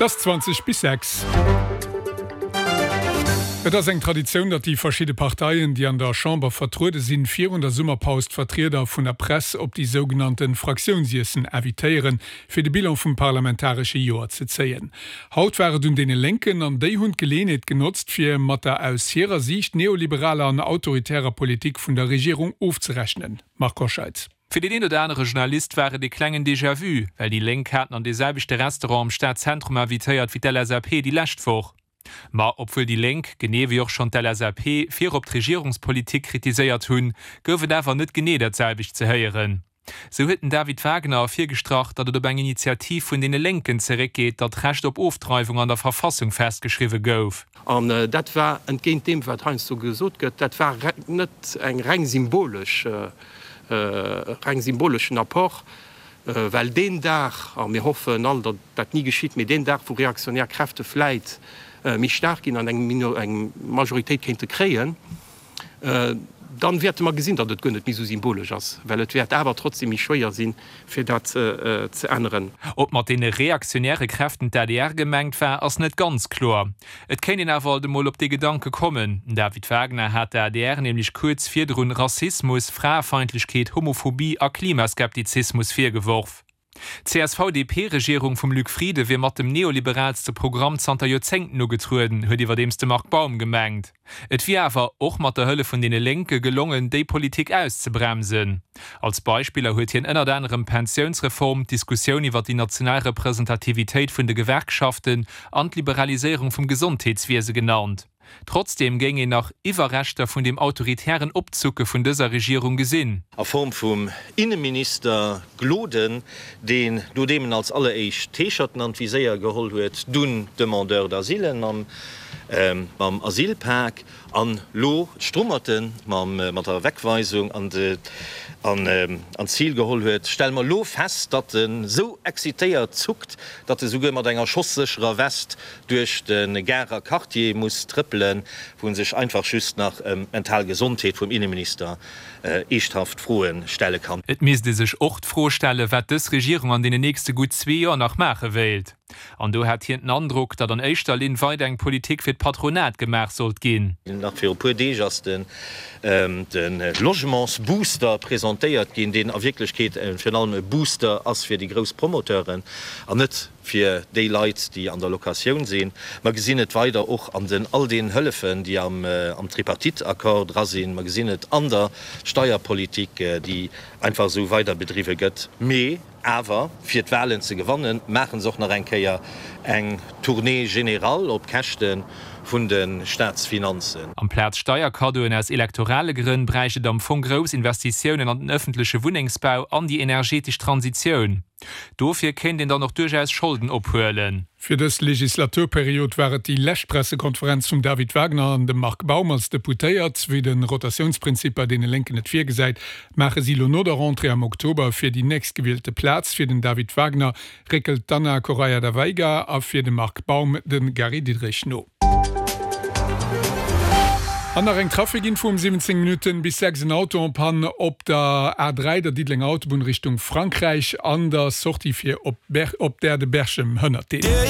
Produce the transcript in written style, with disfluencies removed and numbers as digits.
Et ass 20 bis 6. Et ass eng Traditioun, datt déi verschidde Parteien, déi an der Chamber vertruede sinn, virun der Summerpaus d'Vertrieder vun der Press op déi sougenannte Fraktiounsiessen invitéieren, fir de Bilan vum parlamentaresche Joer ze zéien. Haut war et un deene Lénken an déi hunn d'Geleeënheet genotzt, fir mat der aus hirer Siicht neoliberaler an autoritärer Politik vun der Regierung ofzerechnen. Marc Hoscheid. Fir deen een oder anere Journalist war et ee klengen Déjà-vu, well déi Lénk haten an dee selwechte Restaurant am Stadzentrum invitéiert wéi d'LSAP déi lescht Woch. Ma obwuel déi Lénk, genee wéi och schonn d'LSAP, virop d'Regierungspolitik kritiséiert hunn, gouf et awer net genee dat selwecht ze héieren. Sou huet den David Wagner ervirgestrach, datt et op eng Initiativ vun deene Lénken zeréckgeet, datt d'Recht op Ofdreiwung an der Verfassung festgeschriwwe gouf. An dat war, entgéint deem wat heiansdo gesot gëtt, dat war net eng reng symbolesch, reng symboleschen Apport, well deen Dag, a mir hoffen all, datt dat ni geschitt, mee deen Dag, wou reaktionär Kräfte vläit méi staark ginn an eng Majoritéit kéinte kréien, Dann wäerte mer gesinn, datt et guer net méi esou symbolesch ass, well et wäert awer trotzdem méi schwéier sinn, fir dat ze änneren. Ob mat deene reaktionäre Kräften d'ADR gemengt war, ass net ganz kloer. Et kéint een awer alt emol op dee Gedanke kommen. Den David Wagner hat der adr nämlech kuerz virdrun Rassismus, Fraefeindlechkeet, Homophobie a Klimaskeptizismus virgeworf. D'CSV-DP-Regierung vum Luc Frieden wier mat dem neoliberaalste Programm zanter Joerzéngten ugetrueden, huet iwwerdeems de Marc Baum gemengt. Et wier awer, och mat der Hëllef vun deene Lénke, gelongen, déi Politik auszebremsen. Als Beispiller huet hien ënnert anerem d'Pensiounsreform, d'Diskussioun iwwer déi national Representativitéit vun de Gewerkschaften an d'Liberaliséierung vum Gesondheetswiese genannt. Trotzdeem géing een nach Iwwerreschter vun dem autoritären Opzucke vun dëser Regierung gesinn. A Form vum Inneminister Gloden, deen, nodeem en als alleréischt d'Heescherten an d'Viséier geholl huet, dunn d'Demandeurs d'asile mam Asylpak an lo d'Strummerte mat der Wegweisung an d'Zil geholl huet, stelle mer lo fest, datt en esou excitéiert zuckt, datt e souguer mat enger schossécherer West duerch de Garer Quartier muss trëppelen, wou en sech einfach just nach ëm d'mental Gesondheet vum Inneminister eeschthaft Froe stelle kann. Et misst ee sech och d'Fro stellen, wat dës Regierung an deenen nächste gutt zwee Joer nach maache wéilt. An do hätt hien den Androck, datt an éischter Linn weider eng Politik fir d'Patronat gemaach sollt ginn. Nach viru puer Deeg ass de Logementsbooster presentéiert ginn, deen a Wierklechkeet virun allem e Booster ass fir déi grouss Promoteuren an net fir déi Leit, déi an der Locatioun sinn. Mer gesinn et weider och an den all den Hëllefen, déi am Tripartite-Accord dra sinn. Mer gesinn et an der Steierpolitik, déi einfach esou weider bedriwwe gëtt. Mee awer, fir d'Wahlen ze gewannen, maache se och nach eng Kéier eng Tournée générale op Käschte vun de Staatsfinanzen. Amplaz Steierkaddoen aus elektorale Grënn bräicht et am Fong grouss Investitiounen an den ëffentleche Wunnengsbau an déi energetesch Transitioun. Dofir kéint een dann och duerchaus Scholden ophuelen. Fir dës Legislaturperiod war et déi lescht Pressekonferenz vum David Wagner an dem Marc Baum als Deputéiert. Wéi de Rotatiounsprinzip bei deene Lénken et virgesäit, maache si lo no der Rentrée am Oktober fir déi nächstgewielte Plaz. Fir den David Wagner réckelt d'Ana Correia da Veiga a fir de Marc Baum de Gary Diderich no. An nach eng Trafikinfo um 17 Minutten bis 6, En Auto en panne op der A3, der Diddelenger Autobunn Richtung Frankräich, an der Sortie fir op der de Berchem hënnert deen.